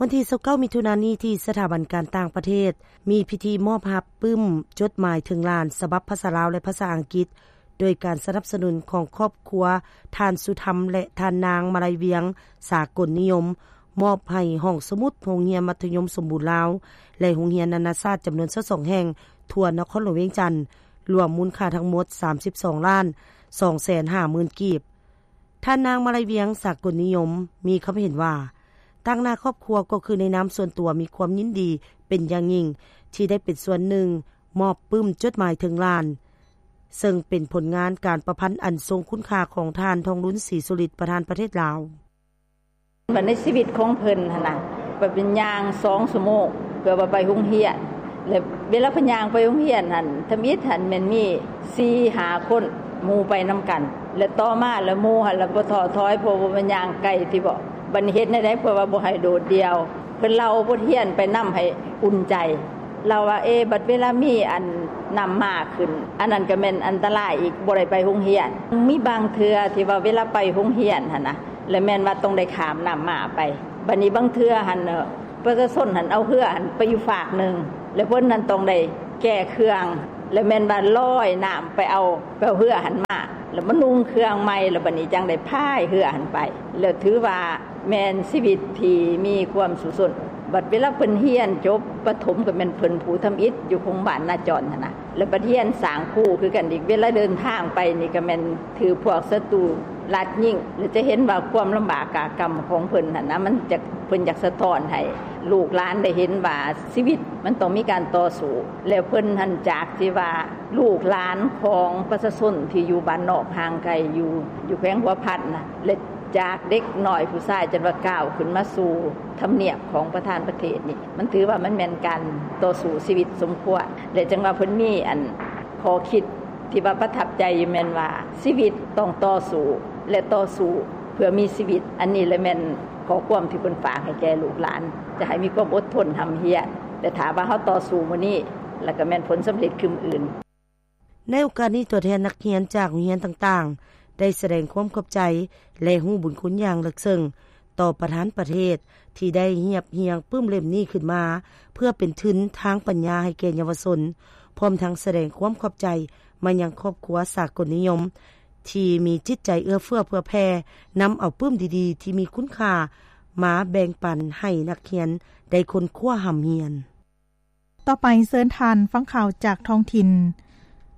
ວັນທີຊາວເກົ້າ ມິຖຸນານີ້ ທີ່ສະຖາບັນການຕ່າງປະເທດ ມີພິທີມອບຮັບປຶ້ມຈົດໝາຍເຖິງຫຼານ ສະບັບພາສາລາວ ແລະ ພາສາອັງກິດ ໂດຍການສະໜັບສະໜູນຂອງຄອບຄົວທ່ານ ສຸທຳ ແລະ ທ່ານນາງ ມາໄລວຽງ ສາກົນນິຍົມ ມອບໃຫ້ຫ້ອງສະໝຸດໂຮງຮຽນມັດທະຍົມສົມບູນລາວ ແລະ ໂຮງຮຽນນານາຊາດຈຳນວນຊາວສອງແຫ່ງ ທົ່ວນະຄອນຫຼວງວຽງຈັນ, ລວມມູນຄ່າທັງໝົດສາມສິບສອງລ້ານສອງແສນຫ້າໝື່ນກີບ. ທ່ານນາງ ມາໄລວຽງ ສາກົນນິຍົມ ມີຄຳເຫັນວ່າ ຕາງໜ້າຄອບຄົວກໍຄືໃນນາມສ່ວນຕົວມີຄວາມຍິນດີເປັນຢ່າງຍິ່ງ ທີ່ໄດ້ເປັນສ່ວນໜຶ່ງມອບປຶ້ມຈົດໝາຍເຖິງຫຼານ, ເຊິ່ງເປັນຜົນງານການປະພັນອັນຊົງຄຸນຄ່າຂອງທ່ານ ທອງລຸນ ສີສຸລິດ ປະທານປະເທດລາວ. ວ່າໃນຊີວິດຂອງເພິ່ນຫັ້ນນະ ວ່າເພິ່ນຍ່າງສອງຊົ່ວໂມງ ເພື່ອວ່າໄປໂຮງຮຽນ ແລະ ເວລາເພິ່ນຍ່າງໄປໂຮງຮຽນຫັ້ນ ທຳອິດຫັ້ນແມ່ນມີສີ່ຫ້າຄົນ ໝູ່ໄປນຳກັນ ແລະ ຕໍ່ມາລະໝູ່ຫັ້ນລະບໍ່ທໍ້ຖອຍ ເພາະວ່າມັນຍ່າງໄກຕິເບາະ. ບັດນີ້ເຮັດແນວໃດເພື່ອວ່າບໍ່ໃຫ້ໂດດດ່ຽວ? ເພິ່ນເລົ່າບົດຮຽນໄປນຳໃຫ້ອຸ່ນໃຈ. ລາວວ່າ ເອ ບັດເວລາມີອັນນ້ຳໝາກຂຶ້ນ ອັນນັ້ນກໍແມ່ນອັນຕະລາຍອີກ ບໍ່ໄດ້ໄປໂຮງຮຽນ. ມີບາງເທື່ອທີ່ວ່າເວລາໄປໂຮງຮຽນຫັ້ນນະ ແລະ ແມ່ນວ່າຕ້ອງໄດ້ຂ້າມນ້ຳໝາກໄປ. ບັດນີ້ບາງເທື່ອຫັ້ນ ປະຊາຊົນຫັ້ນເອົາເຮືອຫັ້ນໄປຢູ່ຟາກໜຶ່ງ ແລະ ເພິ່ນຫັ້ນຕ້ອງໄດ້ແກ່ເຄື່ອງ ແລະ ແມ່ນວ່າລອຍນ້ຳໄປເອົາ ໄປເອົາເຮືອຫັ້ນມາ ແລ້ວມານຸ່ງເຄື່ອງໃໝ່ ແລ້ວບັດນີ້ຈັ່ງໄດ້ພາຍເຮືອຫັ້ນໄປ ແລ້ວຖືວ່າແມ່ນຊີວິດທີ່ມີຄວາມສູ້ຊົນ. ບັດເວລາເພິ່ນຮຽນຈົບປະຖົມ ກໍແມ່ນເພິ່ນຜູ້ທຳອິດຢູ່ໂຮງບານນາຈອນຫັ້ນນະ ແລ້ວບັດຮຽນສ້າງຄູຄືກັນອີກ ເວລາເດີນທາງໄປນີ້ກໍແມ່ນຖືກພວກສັດຕູລາດຍິງ ແລ້ວຈະເຫັນວ່າຄວາມລຳບາກກາກຳຂອງເພິ່ນຫັ້ນນະ ມັນຈະ ເພິ່ນຢາກສະທ້ອນໃຫ້ລູກຫຼານໄດ້ເຫັນວ່າຊີວິດມັນຕ້ອງມີການຕໍ່ສູ້ ແລ້ວເພິ່ນຫັ້ນຈາກທີ່ວ່າລູກຫຼານຂອງປະຊາຊົນທີ່ຢູ່ບ້ານນອກຫ່າງໄກ ຢູ່ ຢູ່ແຂວງຫົວພັນນະ ແລະ ຈາກເດັກນ້ອຍຜູ້ຊາຍຈົນວ່າກ້າວຂຶ້ນມາສູ່ທຳນຽບຂອງປະທານປະເທດນີ້ ມັນຖືວ່າມັນແມ່ນການຕໍ່ສູ້ຊີວິດສົມຄວນ ແລະ ຈັ່ງວ່າເພິ່ນມີອັນຂໍ້ຄິດ ທີ່ວ່າປະທັບໃຈຢູ່ແມ່ນວ່າ ຊີວິດຕ້ອງຕໍ່ສູ້ ແລະ ຕໍ່ສູ້ເພື່ອມີຊີວິດ. ອັນນີ້ແຫຼະແມ່ນຂໍ້ຄວາມທີ່ເພິ່ນຝາກໃຫ້ແກ່ລູກຫຼານ ຈະໃຫ້ມີຄວາມອົດທົນຮ່ຳຮຽນ ແລະ ຖ້າວ່າເຮົາຕໍ່ສູ້ມື້ນີ້ ແລ້ວກໍແມ່ນຜົນສຳເລັດຄືມື້ອື່ນ. ໃນໂອກາດນີ້ ຕົວແທນນັກຮຽນຈາກໂຮງຮຽນຕ່າງໆ ໄດ້ສະແດງຄວາມຂອບໃຈ ແລະ ຮູ້ບຸນຄຸນຢ່າງເລິກເຊິ່ງ ຕໍ່ປະທານປະເທດ ທີ່ໄດ້ຮຽບຮຽງປຶ້ມເຫຼັ້ມນີ້ຂຶ້ນມາ ເພື່ອເປັນທຶນທາງປັນຍາໃຫ້ແກ່ເຍົາວະຊົນ, ພ້ອມທັງສະແດງຄວາມຂອບໃຈມາຍັງຄອບຄົວສາກົນນິຍົມ ທີ່ມີຈິດໃຈເອື້ອເຟື້ອເຜື່ອແຜ່, ນຳເອົາປຶ້ມດີໆທີ່ມີຄຸນຄ່າມາແບ່ງປັນໃຫ້ນັກຮຽນໄດ້ຄົ້ນຄວ້າຮ່ຳຮຽນ. ຕໍ່ໄປເຊີນທ່ານຟັງຂ່າວຈາກທ້ອງຖິ່ນ.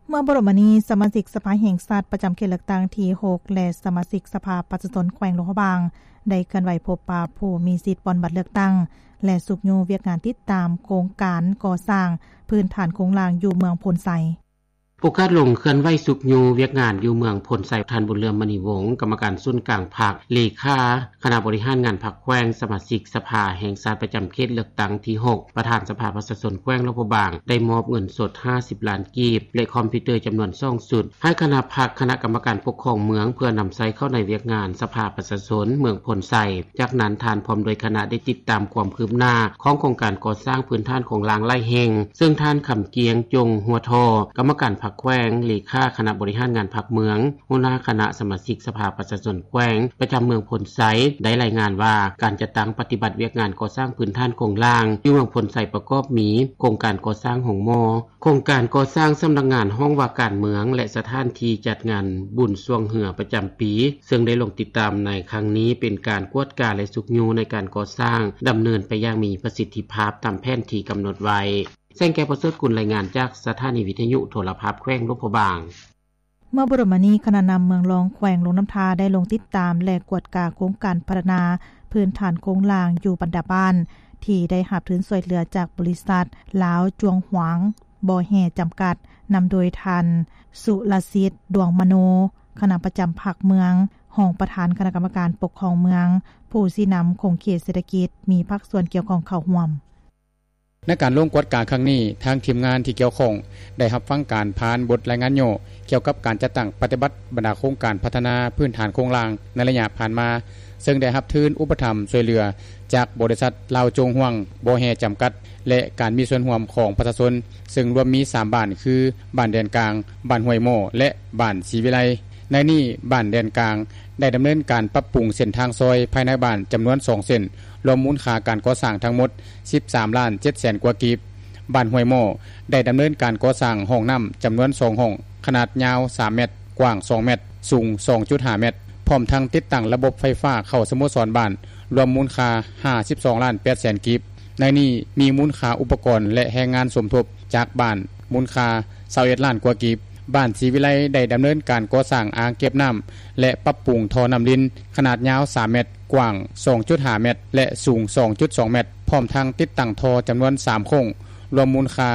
ເມື່ອບໍ່ດົນມານີ້ ສະມາຊິກສະພາແຫ່ງຊາດປະຈຳເຂດເລືອກຕັ້ງທີຫົກ ແລະ ສະມາຊິກສະພາປະຊາຊົນແຂວງຫຼວງພະບາງ ໄດ້ເຄື່ອນໄຫວພົບປະຜູ້ມີສິດປ່ອນບັດເລືອກຕັ້ງ ແລະ ຊຸກຍູ້ວຽກງານຕິດຕາມໂຄງການກໍ່ສ້າງພື້ນຖານໂຄງລ່າງຢູ່ເມືອງໂພນໄຊ. ໂອກາດລົງເຄື່ອນໄຫວຊຸກຍູ້ວຽກງານຢູ່ເມືອງໂພນໄຊ, ທ່ານ ບຸນເຫຼືອມ ມະນີວົງ ກຳມະການສູນກາງພັກ, ເລຂາຄະນະບໍລິຫານງານພັກແຂວງ, ສະມາຊິກສະພາແຫ່ງຊາດປະຈຳເຂດເລືອກຕັ້ງທີຫົກ ປະທານສະພາປະຊາຊົນແຂວງຫຼວງພະບາງ ໄດ້ມອບເງິນສົດຫ້າສິບລ້ານກີບ ແລະ ຄອມພິວເຕີຈຳນວນສອງຊຸດ ໃຫ້ຄະນະພັກຄະນະກຳມະການປົກຄອງເມືອງ ເພື່ອນຳໃຊ້ເຂົ້າໃນວຽກງານສະພາປະຊາຊົນເມືອງໂພນໄຊ. ຈາກນັ້ນ ທ່ານພ້ອມດ້ວຍຄະນະໄດ້ຕິດຕາມຄວາມຄືບໜ້າຂອງໂຄງການກໍ່ສ້າງພື້ນຖານໂຄງລ່າງຫຼາຍແຫ່ງ, ເຊິ່ງທ່ານ ຄຳກ້ຽງ ຈົງຫົວທໍ່ ກຳມະການພັກແຂວງ, ເລຂາຄະນະບໍລິຫານງານພັກເມືອງ, ຫົວໜ້າຄະນະສະມາຊິກສະພາປະຊາຊົນແຂວງ ປະຈຳເມືອງໂພນໄຊ ໄດ້ລາຍງານວ່າ ການຈັດຕັ້ງປະຕິບັດວຽກງານກໍ່ສ້າງພື້ນຖານໂຄງລ່າງຢູ່ເມືອງໂພນໄຊ ປະກອບມີ ໂຄງການກໍ່ສ້າງໂຮງໝໍ, ໂຄງການກໍ່ສ້າງສຳນັກງານຫ້ອງວ່າການເມືອງ ແລະ ສະຖານທີ່ຈັດງານບຸນຊ່ວງເຮືອປະຈຳປີ, ເຊິ່ງໄດ້ລົງຕິດຕາມໃນຄັ້ງນີ້ເປັນການກວດກາ ແລະ ຊຸກຍູ້ໃນການກໍ່ສ້າງ ດຳເນີນໄປຢ່າງມີປະສິດທິພາບຕາມແຜນທີ່ກຳນົດໄວ້. ແສງແກ້ວ ປະເສີດກຸນ ລາຍງານຈາກສະຖານີວິທະຍຸໂທລະພາບແຂວງຫຼວງພະບາງ. ເມື່ອບໍ່ດົນມານີ້ ຄະນະນຳເມືອງລອງ ແຂວງຫຼວງນ້ຳທາ ໄດ້ລົງຕິດຕາມ ແລະ ກວດກາໂຄງການພັດທະນາພື້ນຖານໂຄງລ່າງຢູ່ບັນດາບ້ານ ທີ່ໄດ້ຮັບທຶນຊ່ວຍເຫຼືອຈາກບໍລິສັດລາວຈວງຫວາງບໍ່ແຮ່ຈຳກັດ ນຳໂດຍທ່ານ ສຸລະສິດ ດວງມະໂນ ຄະນະປະຈຳພັກເມືອງ, ຮອງປະທານຄະນະກຳມະການປົກຄອງເມືອງ, ຜູ້ຊີ້ນຳຂົງເຂດເສດຖະກິດ, ມີພາກສ່ວນກ່ຽວຂ້ອງເຂົ້າຮ່ວມ. ໃນການລົງກວດກາຄັ້ງນີ້, ທາງທີມງານທີ່ກ່ຽວຂ້ອງໄດ້ຮັບຟັງການຜ່ານບົດລາຍງານຫຍໍ້ກ່ຽວກັບການຈັດຕັ້ງປະຕິບັດບັນດາໂຄງການພັດທະນາພື້ນຖານໂຄງລ່າງໃນໄລຍະຜ່ານມາ, ເຊິ່ງໄດ້ຮັບທຶນອຸປະຖຳຊ່ວຍເຫຼືອຈາກບໍລິສັດລາວຈວງຫວາງບໍ່ແຮ່ຈຳກັດ ແລະ ການມີສ່ວນຮ່ວມຂອງປະຊາຊົນ, ເຊິ່ງລວມມີສາມບ້ານ ຄື ບ້ານແດນກາງ, ບ້ານຫ້ວຍໝໍ້ ແລະ ບ້ານສີວິໄລ. ໃນນີ້ ບ້ານແດນກາງໄດ້ດຳເນີນການປັບປຸງເສັ້ນທາງຊອຍພາຍໃນບ້ານຈຳນວນສອງເສັ້ນ, ລວມມູນຄ່າການກໍ່ສ້າງທັງໝົດສິບສາມລ້ານເຈັດແສນກວ່າກີບ. ບ້ານຫ້ວຍໝໍ້ໄດ້ດຳເນີນການກໍ່ສ້າງຫ້ອງນ້ຳຈຳນວນສອງຫ້ອງ, ຂະໜາດຍາວສາມແມັດ, ກວ້າງສອງແມັດ, ສູງສອງຈຸດຫ້າແມັດ, ພ້ອມທັງຕິດຕັ້ງລະບົບໄຟຟ້າເຂົ້າສະໂມສອນບ້ານ, ລວມມູນຄ່າຫ້າສິບສອງລ້ານແປດແສນກີບ. ໃນນີ້ມີມູນຄ່າອຸປະກອນ ແລະ ແຮງງານສົມທົບຈາກບ້ານ ມູນຄ່າຊາວເອັດລ້ານກວ່າກີບ. ບ້ານສີວິໄລໄດ້ດຳເນີນການກໍ່ສ້າງອ່າງເກັບນ້ຳ ແລະ ປັບປຸງທໍ່ນ້ຳລິນ ຂະໜາດຍາວສາມແມັດ, ກວ້າງສອງຈຸດຫ້າແມັດ ແລະ ສູງສອງຈຸດສອງແມັດ, ພ້ອມທັງຕິດຕັ້ງທໍ່ຈຳນວນສາມໂຄ້ງ, ລວມມູນຄ່າ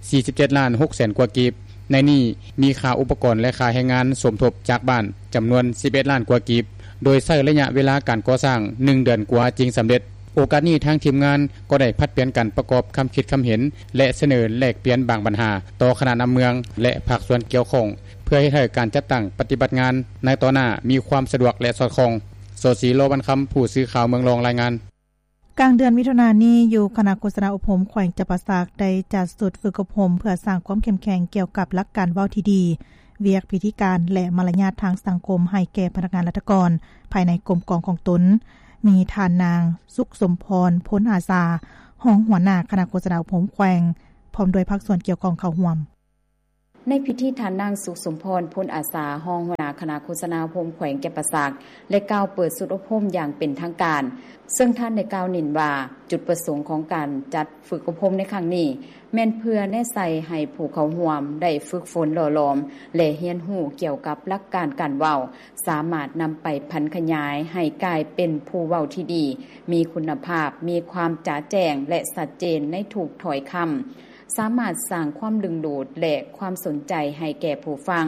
ສີ່ສິບເຈັດລ້ານຫົກແສນກວ່າກີບ. ໃນນີ້ມີຄ່າອຸປະກອນ ແລະ ຄ່າແຮງງານສົມທົບຈາກບ້ານຈຳນວນສິບເອັດລ້ານກວ່າກີບ, ໂດຍໃຊ້ໄລຍະເວລາການກໍ່ສ້າງໜຶ່ງເດືອນກວ່າຈຶ່ງສຳເລັດ. ໂອກາດນີ້ ທາງທີມງານກໍໄດ້ຜັດປ່ຽນກັນປະກອບຄຳຄິດຄຳເຫັນ ແລະ ສະເໜີແລກປ່ຽນບາງບັນຫາຕໍ່ຄະນະນຳເມືອງ ແລະ ພາກສ່ວນກ່ຽວຂ້ອງ ເພື່ອເຮັດໃຫ້ການຈັດຕັ້ງປະຕິບັດງານໃນຕໍ່ໜ້າມີຄວາມສະດວກ ແລະ ສອດຄ່ອງ. ໂສສີ ໂລວັນຄຳ, ຜູ້ສື່ຂ່າວເມືອງລອງ ລາຍງານ. ກາງເດືອນມິຖຸນານີ້ ຢູ່ຄະນະໂຄສະນາອົບຮົມແຂວງຈຳປາສັກ ໄດ້ຈັດຊຸດຝຶກອົບຮົມເພື່ອສ້າງຄວາມເຂັ້ມແຂງກ່ຽວກັບຫຼັກການເວົ້າທີ່ດີ, ວຽກພິທີການ ແລະ ມາລະຍາດທາງສັງຄົມໃຫ້ແກ່ພະນັກງານລັດຖະກອນພາຍໃນກົມກອງຂອງຕົນ. ມີທ່ານນາງ ສຸກສົມພອນ ພົນອາສາ ຮອງຫົວໜ້າຄະນະໂຄສະນາອົບຮົມແຂວງ ພ້ອມດ້ວຍພາກສ່ວນກ່ຽວຂ້ອງເຂົ້າຮ່ວມ. ໃນພິທີ ທ່ານນາງ ສຸກສົມພອນ ພົນອາສາ ຮອງຫົວໜ້າຄະນະໂຄສະນາອົບຮົມແຂວງຈຳປາສັກ ໄດ້ກ່າວເປີດຊຸດອົບຮົມຢ່າງເປັນທາງການ, ເຊິ່ງທ່ານໄດ້ກ່າວເນັ້ນວ່າ ຈຸດປະສົງຂອງການຈັດຝຶກອົບຮົມໃນຄັ້ງນີ້ ແມ່ນເພື່ອແນໃສ່ໃຫ້ຜູ້ເຂົ້າຮ່ວມໄດ້ຝຶກຝົນຫຼໍ່ຫຼອມ ແລະ ຮຽນຮູ້ກ່ຽວກັບຫຼັກການການເວົ້າ, ສາມາດນຳໄປຜັນຂະຫຍາຍໃຫ້ກາຍເປັນຜູ້ເວົ້າທີ່ດີ, ມີຄຸນນະພາບ, ມີຄວາມຈະແຈ້ງ ແລະ ຊັດເຈນໃນທຸກຖ້ອຍຄຳ, ສາມາດສ້າງຄວາມດຶງດູດ ແລະ ຄວາມສົນໃຈໃຫ້ແກ່ຜູ້ຟັງ,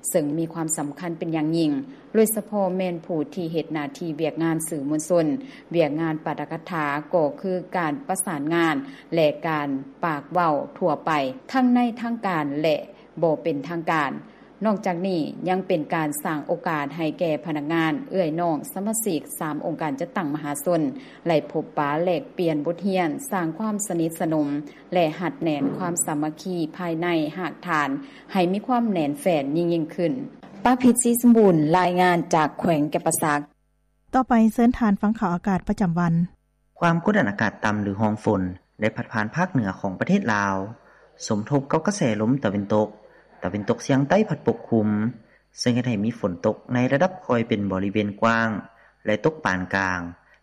ເຊິ່ງມີຄວາມສຳຄັນເປັນຢ່າງຍິ່ງ, ໂດຍສະເພາະແມ່ນຜູ້ທີ່ເຮັດໜ້າທີ່ວຽກງານສື່ມວນຊົນ, ວຽກງານປາຖະກະຖາ ກໍຄືການປະສານງານ ແລະ ການປາກເວົ້າທົ່ວໄປ, ທັງໃນທາງການ ແລະ ບໍ່ເປັນທາງການ. ນອກຈາກນີ້ ຍັງເປັນການສ້າງໂອກາດໃຫ້ແກ່ພະນັກງານ, ເອື້ອຍນ້ອງ, ສະມາຊິກສາມອົງການຈັດຕັ້ງມະຫາຊົນ ໄດ້ພົບປະແລກປ່ຽນບົດຮຽນ, ສ້າງຄວາມສະໜິດສະໜົມ ແລະ ຮັດແໜ້ນຄວາມສາມັກຄີພາຍໃນຮາກຖານ ໃຫ້ມີຄວາມແໜ້ນແຟ້ນຍິ່ງໆຂຶ້ນ. ປາພິດ ສີສົມບູນ ລາຍງານຈາກແຂວງຈຳປາສັກ. ຕໍ່ໄປເຊີນທ່ານຟັງຂ່າວອາກາດປະຈຳວັນ. ຄວາມກົດອາກາດຕ່ຳ ຫຼື ຮ່ອງຝົນ ໄດ້ພັດຜ່ານພາກເໜືອຂອງປະເທດລາວ, ສົມທົບກັບກະແສລົມຕາເວັນຕົກ, ຕາເວັນຕົກສຽງໃຕ້ພັດປົກຄຸມ, ເຊິ່ງເຮັດໃຫ້ມີຝົນຕົກໃນລະດັບຄ່ອຍເປັນບໍລິເວນກວ້າງ ແລະ ຕົກປານກາງ,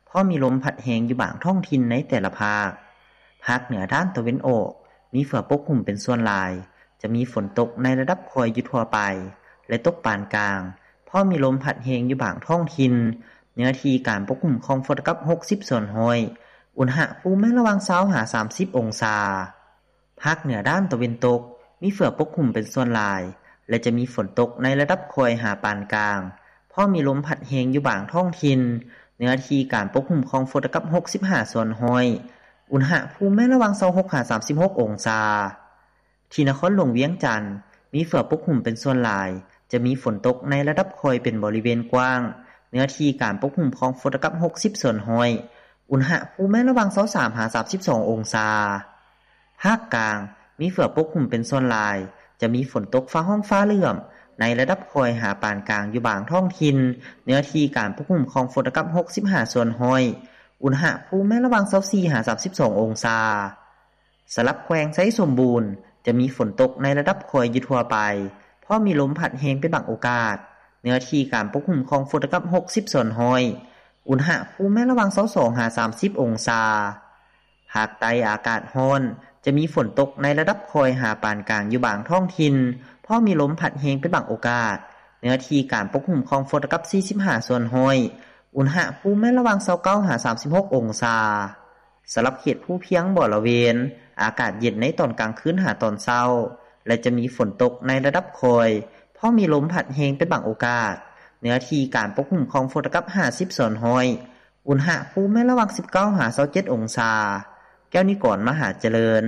ພ້ອມມີລົມພັດແຮງຢູ່ບາງທ້ອງຖິ່ນໃນແຕ່ລະພາກ. ພາກເໜືອດ້ານຕາເວັນອອກ ມີເຝືອປົກຄຸມເປັນສ່ວນຫຼາຍ, ຈະມີຝົນຕົກໃນລະດັບຄ່ອຍຢູ່ທົ່ວໄປ ແລະ ຕົກປານກາງ, ພ້ອມມີລົມພັດແຮງຢູ່ບາງທ້ອງຖິ່ນ, ເນື້ອທີ່ການປົກຄຸມຂອງຝົນກັບຫົກສິບສ່ວນຮ້ອຍ, ອຸນຫະພູມແມ່ນລະຫວ່າງຊາວຫາສາມສິບອົງສາ. ພາກເໜືອດ້ານຕາເວັນຕົກ ມີເຝືອປົກຄຸມເປັນສ່ວນຫຼາຍ, ແລະ ຈະມີຝົນຕົກໃນລະດັບຄ່ອຍຫາປານກາງ ພ້ອມມີລົມພັດແຮງຢູ່ບາງທ້ອງຖິ່ນ. ເນື້ອທີ່ການປົກຄຸມຂອງຝົນເທົ່າກັບຫົກສິບຫ້າສ່ວນຮ້ອຍ, ອຸນຫະພູມແມ່ນລະຫວ່າງຊາວຫົກຫາສາມສິບຫົກອົງສາ. ທີ່ນະຄອນຫຼວງວຽງຈັນ ມີເຝືອປົກຄຸມເປັນສ່ວນຫຼາຍ, ຈະມີຝົນຕົກໃນລະດັບຄ່ອຍເປັນບໍລິເວນກວ້າງ, ເນື້ອທີ່ການປົກຄຸມຂອງຝົນເທົ່າກັບຫົກສິບສ່ວນຮ້ອຍ, ອຸນຫະພູມແມ່ນລະຫວ່າງຊາວສາມຫາສາມສິບສອງອົງສາ. ພາກກາງ ມີເຝືອປົກຄຸມເປັນສ່ວນຫຼາຍ, ຈະມີຝົນຕົກຟ້າຮ້ອງຟ້າເຫຼື້ອມ ໃນລະດັບຄ່ອຍຫາປານກາງຢູ່ບາງທ້ອງຖິ່ນ, ເນື້ອທີ່ການປົກຄຸມຂອງຝົນເທົ່າກັບຫົກສິບຫ້າສ່ວນຮ້ອຍ, ອຸນຫະພູມແມ່ນລະຫວ່າງຊາວສີ່ຫາສາມສິບສອງອົງສາ. ສຳລັບແຂວງໄຊສົມບູນ ຈະມີຝົນຕົກໃນລະດັບຄ່ອຍຢູ່ທົ່ວໄປ, ພ້ອມມີລົມພັດແຮງເປັນບາງໂອກາດ, ເນື້ອທີ່ການປົກຄຸມຂອງຝົນເທົ່າກັບຫົກສິບສ່ວນຮ້ອຍ, ອຸນຫະພູມແມ່ນລະຫວ່າງຊາວສອງຫາສາມສິບອົງສາ. ພາກໃຕ້ອາກາດຮ້ອນ, ຈະມີຝົນຕົກໃນລະດັບຄ່ອຍຫາປານກາງຢູ່ບາງທ້ອງຖິ່ນ, ພ້ອມມີລົມພັດແຮງເປັນບາງໂອກາດ, ເນື້ອທີ່ການປົກຄຸມຂອງຝົນເທົ່າກັບສີ່ສິບຫ້າສ່ວນຮ້ອຍ, ອຸນຫະພູມແມ່ນລະຫວ່າງຊາວເກົ້າຫາສາມສິບຫົກອົງສາ. ສຳລັບເຂດພູພຽງບໍລະເວນ, ອາກາດເຢັນໃນຕອນກາງຄືນຫາຕອນເຊົ້າ ແລະ ຈະມີຝົນຕົກໃນລະດັບຄ່ອຍ, ພ້ອມມີລົມພັດແຮງເປັນບາງໂອກາດ, ເນື້ອທີ່ການປົກຄຸມຂອງຝົນເທົ່າກັບຫ້າສິບສ່ວນຮ້ອຍ, ອຸນຫະພູມແມ່ນລະຫວ່າງສິບເກົ້າຫາຊາວເຈັດອົງສາ. ແກ້ວນິກອນ ມະຫາຈະເລີນ,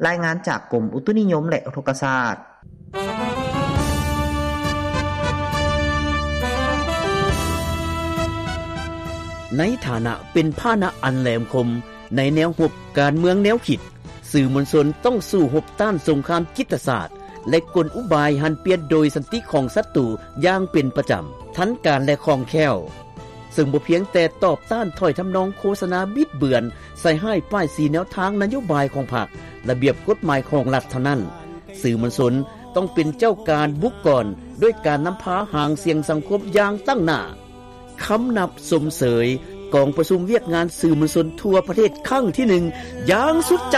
ລາຍງານຈາກກົມອຸຕຸນິຍົມ ແລະ ອຸທົກກະສາດ. ໃນຖານະເປັນພາຫະນະອັນແຫຼມຄົມໃນແນວຮົບການເມືອງແນວຄິດ, ສື່ມວນຊົນຕ້ອງສູ້ຮົບຕ້ານສົງຄາມຈິດຕະສາດ ແລະ ກົນອຸບາຍຫັນປ່ຽນໂດຍສັນຕິຂອງສັດຕູຢ່າງເປັນປະຈຳ, ທັນການ ແລະ ຄ່ອງແຄ້ວ. ເຊິ່ງບໍ່ພຽງແຕ່ຕອບຕ້ານຖ້ອຍທຳນອງໂຄສະນາບິດເບືອນ, ໃສ່ຮ້າຍປ້າຍສີແນວທາງນະໂຍບາຍຂອງພັກ, ລະບຽບກົດໝາຍຂອງລັດເທົ່ານັ້ນ, ສື່ມວນຊົນຕ້ອງເປັນເຈົ້າການບຸກກ່ອນ ດ້ວຍການນຳພາຫາງສຽງສັງຄົມຢ່າງຕັ້ງໜ້າ. ຄຳນັບຊົມເຊີຍກອງປະຊຸມວຽກງານສື່ມວນຊົນທົ່ວປະເທດຄັ້ງທີໜຶ່ງຢ່າງສຸດໃຈ.